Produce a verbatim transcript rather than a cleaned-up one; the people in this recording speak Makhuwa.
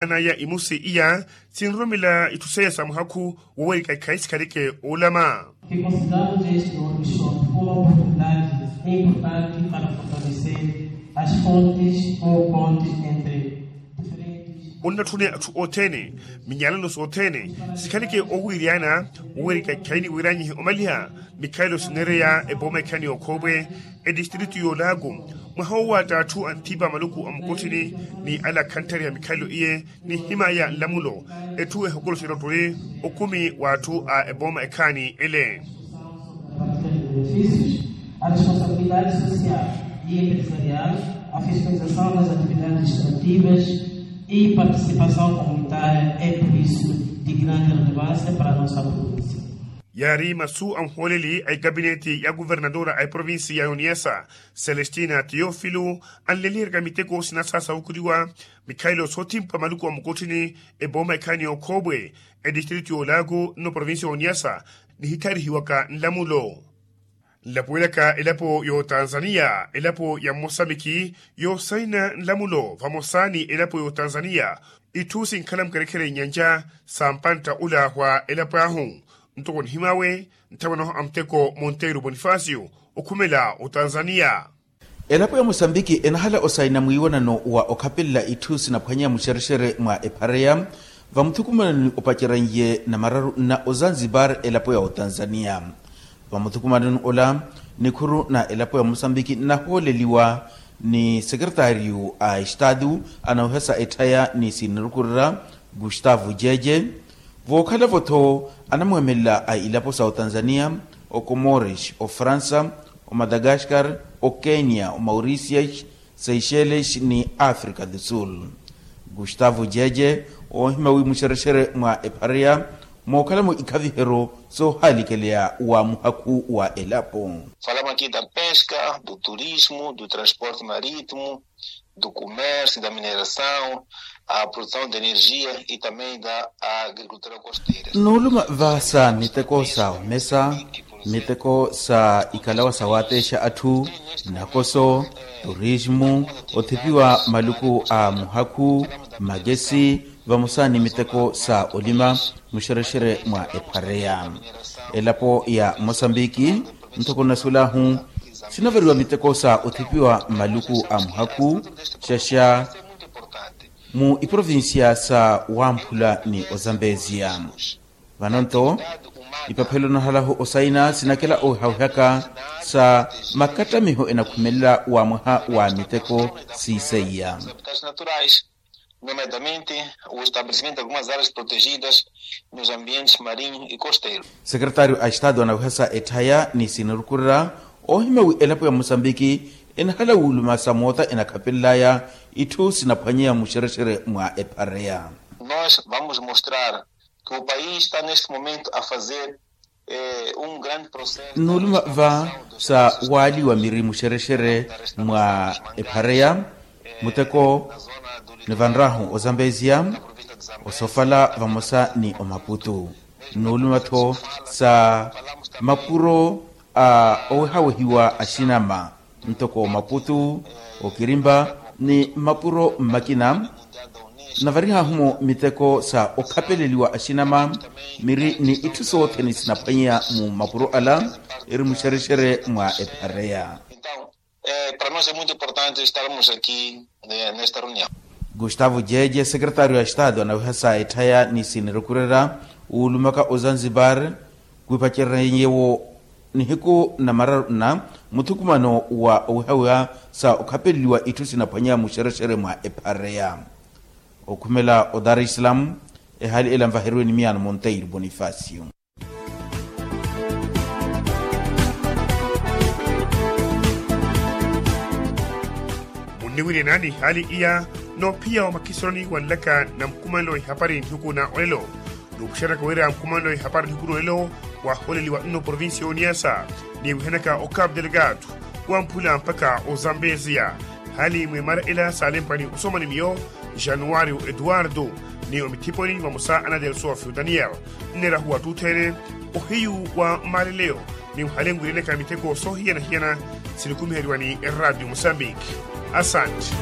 Anaya imusi iya sinroromela itthu seiya sa muhakhu wowerika ekhayi sikhaleke oolama. Fikonsidalus este workshop fuma oportunidadi importanti para fortaleseri as fontis ou pontis entre diferentes. Onnatthune atthu othene minyalano sothene sikhaleke owiiryana wowerika ekhayi ni wiranyihe omaliha mikhalelo sineereya ebooma ekhayi ni okhoopwe etistritu y'olaaku. Mwaha owatta atthu anthipa maluku a mukotthini ni ala khantthariha mikhalelo iye ni himaya nlamulo etthu ehokoloxerya otturi okumi w'atthu a ebooma ekhaani ele. A responsabilidade social e empresarial, a fiscalização das atividades extrativas e participação comunitária é por isso de grande relevância para a nossa província. Yaari masu a muhooleli a ekapineti ya kuvernatore a eprovinsi ya yoniyasa celestina teofilo anleliheryaka miteko sinasa sawukuriwa mikhalelo soothimpa maluku a mukotthini ebooma ekhaani y'okhoopwe etistritu y'olaaku nno provinsi ya oniyasa nihitharihiwaka nlamulo. Nlapuwelaka elapo y'otanzaniya elapo ya mmosambiki yoosayina nlamulo vamosa ni elapo y'otanzaniya itthu sinkhala mukerekhere nyanja sa mpantta olaahwa elapo ahu. Ntoko nihimawe nthamwanahu a muteko monteiro bonifasio okhumela otanzaniya. Elapo ya mosambiki enahala osayina mwiiwanano wa okhapelela itthu sinaphwanya muxerexere mwa ephareya vamuthukumanoni opaceranye namararu na ozanzibar elapo ya otanzaniya. Vamuthukumanoni ola nikhuru na elapo ya mosambiki nnahooleliwa ni sekeretariyu a estatu anawehasa etthaya ni sinirukurira gustavo jeje. Vookhala-vo-tho anamweemelela a ilapo sa otanzaniya, okomores, ofransa, omadagaskar, okenya, omaurisias, seychelles ni africa do sul. Gustavo jeje oohima wi muxerexere mwa ephareya mookhala-mo ikhaviheryo soohalikeleya wa muhakhu wa elapo. Falamos aqui da pesca, do turismo, do transporte marítimo, do comércio, da mineração, a produção de energia e também da agricultura costeira. Nuluma vasa miteko sa omesa, miteko sa ikalawa sa watexa atthu, nakoso, turismu, othipiwa maluku a muhakhu, makesi, vamosa ni miteko sa olima muxerexere mwa ephareya. Elapo ya mosambiki nthoko nasuwelahu sinavariwa miteko sa othipiwa maluku a muhakhu xaxa mu iprovincia sa wamphula ni ozambeziya. Vano-nto ipaphelo nahalahu osayina sinakela owehawehaka sa makattamiho enakhumelela wa mwaha wa miteko siiseiya. Nomeadamente o estabelecimento de algumas áreas protegidas nos ambientes marinho e costeiro. Sekeretaryo a estado anawehasa etthaya ni sinirukurira oohima wi elapo ya mosambiki enahala wuuluma sa moota enakhapelelaya itthu sinaphwanyeya muxerexere mwa ephareya. Nós vamos mostrar que o país está neste momento a fazer nuluma va sa waaliwa miri muxerexere mwa ephareya muteko nivanrahu ozambeziya osofala vamosa ni omaputu nuluma-tho sa mapuro a owehawehiwa axinama ntoko maputu okirimba ni mapuro mmakina. Navarihahu-mo miteko sa okhapeleliwa axinama miri ni itthu sothene sinaphwanya mu mapuro ala eri muxerexere mwa ephareya. Para nós é muito importante estarmos aqui nesta reunião. Gustavo jeje sekeretaryo a estado anawehasa etthaya ni sinirukurera wuulumaka ozanzibar kwipacererenyewo nihiku namararu na muthukumano wa owihawiha sa okhapeleliwa itthu sinaphwanya muxerexere mwa ephareya. Okhumela o dar es salaam ehali ela nvaheriwe ni miyano monteiro bonifacio. Munniwirye naani hali iya noophiya wa makhisoroni wanlaka na mukumanelo wa ihapari nihuku na olelo. Nuupuxeraka wira mukumanelo wa ihapari nihuku na olelo waholeliwa nno provincia ya oniasa ni wihanaka o cap delgado wamphula mpakha ozambeziya. Hali mwimara ela saalempwani osomani miyo januario eduardo ni omithiponi vamosa ana delsofi daniel. Nneerahu wattuthene ohiyu wa maaleleyo ni muhale nwireneka miteko soohiyana-hiyana. Sinikumiheriwani eradio mosambiki. Asanti.